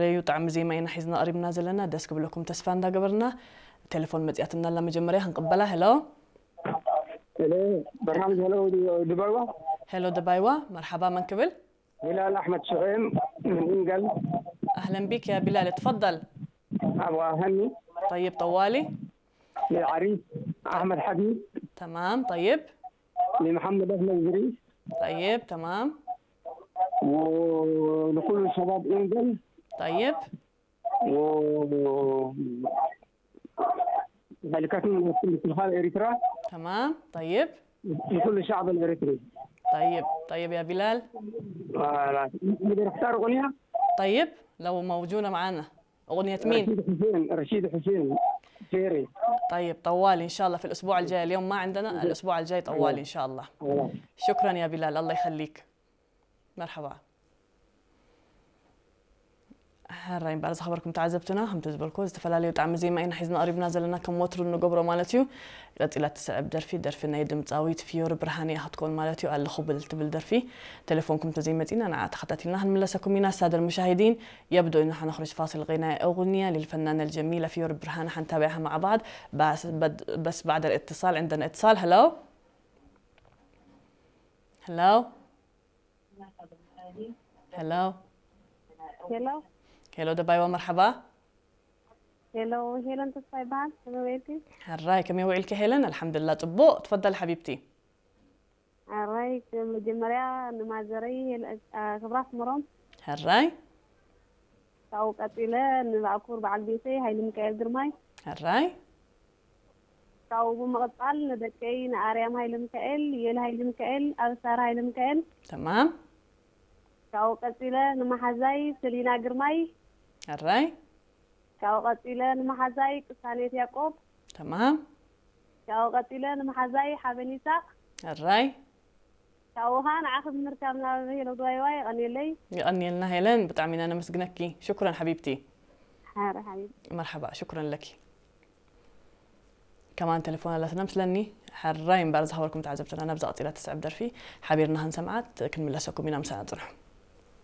ለዩ ጣዕሚ ዜማ ኢና ሒዝና ቀሪብና ዘለና፣ ደስ ክብለኩም ተስፋ እንዳገበርና። ቴሌፎን መጺኣትና ኣላ፣ መጀመርያ ክንቅበላ። ሄሎ። ሄሎ፣ በርሃም፣ ሄሎ፣ ድባይዋ። ሄሎ ደባይዋ፣ መርሓባ፣ መን ክብል? ቢላል ኣሕመድ ሽዑም ምን ኢንገል። ኣህለን ቢክ ያ ቢላል፣ ትፈضል። ኣባ ሀኒ። طيب፣ ጠዋሊ። لعريس أحمد حبيب. تمام، طيب. لمحمد أحمد إدريس. طيب، تمام. ولكل شباب إنجل. طيب. و هلكتنا لكل شباب إريترا. تمام، طيب. لكل شعب الإريتري. طيب، طيب يا بلال. آه، لا. نقدر نختار أغنية؟ طيب، لو موجودة معانا. أغنية مين؟ رشيد حسين، رشيد حسين. سيري. طيب، طوالي إن شاء الله في الأسبوع الجاي. اليوم ما عندنا، الأسبوع الجاي طوالي إن شاء الله. خلاص. شكرا يا بلال، الله يخليك. مرحبا. ሕራይ እምበኣር ዝኸበርኩም ተዓዘብትና፣ ከምቲ ዝበልኩ ዝተፈላለዩ ጣዕሚ ዜማ ኢና ሒዝና ቀሪብና ዘለና፣ ከም ወትሩ እንገብሮ ማለት እዩ። ቀጺላ እትስዕብ ደርፊ፣ ደርፊ ናይ ድምጻዊት ፍዮሪ ብርሃነ እያ ክትከውን ማለት እዩ። ኣለኹ ብል ትብል ደርፊ። ቴሌፎንኩም ተዘይመጺና ንዓ ተኸታቲልና ክንምለሰኩም ኢና። السادة المشاهدين، يبدو إنه حنخرج فاصل غنائي أغنية للفنانة الجميلة فيوري برهان، حنتابعها مع بعض. بس بد- بس بعد الاتصال عندنا اتصال. هلو. هلو. هلو. ሄሎ ሄሎ ደባይዋ፣ መርሓባ። ሄሎ፣ ሄለን ተስፋ ይበሃል። ከመይ ውዒልኪ? ሕራይ፣ ከመይ ውዒልኪ ሄለን? ኣልሓምዱላ ጽቡቕ። ትፈደል ሓቢብቲ። ሕራይ፣ መጀመርያ ንማዘረይ ሄለ- ኣ፣ ክብራ ኣስመሮም፣ ሕራይ። ካብኡ ቀጺለ ንባእኩር በዓል ቤተይ ሃይለ ሚካኤል ግርማይ፣ ሕራይ። ካብኡ ብምቕጻል ንደቀይ ንኣርያም ሃይለ ሚካኤል፣ የል ሃይለ ሚካኤል፣ ኣብሳር ሃይለ ሚካኤል፣ ተማም። ካብኡ ቀጺለ ንመሓዛይ ሰሊና ግርማይ፣ ሕራይ። ካብኡ ቀጺለ ንመሓዛይ ቅሳኔት ያቆብ፣ ተማም። ካብኡ ቀጺለ ንመሓዛይ ሓበን ይሳቅ፣ ሕራይ። ካብኡ ኸዓ ንዓኺ ብምርካብና ኣብ ሄሎ ድባይዋ የቐንየለይ። የቐንየልና ሄለን፣ ብጣዕሚ ኢና ነመስግነኪ። ሽኩረን ሓቢብቲ። ሓረ ሓቢብ። መርሓባ፣ ሽኩረን ለኪ። ከማን ቴሌፎን ኣለትና ምስለኒ። ሕራይ እምበኣር ዝኸበርኩም ተዓዘብትና፣ ናብዛ ቀጺላ ትስዕብ ደርፊ ሓቢርና ክንሰምዓት ክንምለሰኩም ኢና፣ ምሳና ጽንሑ።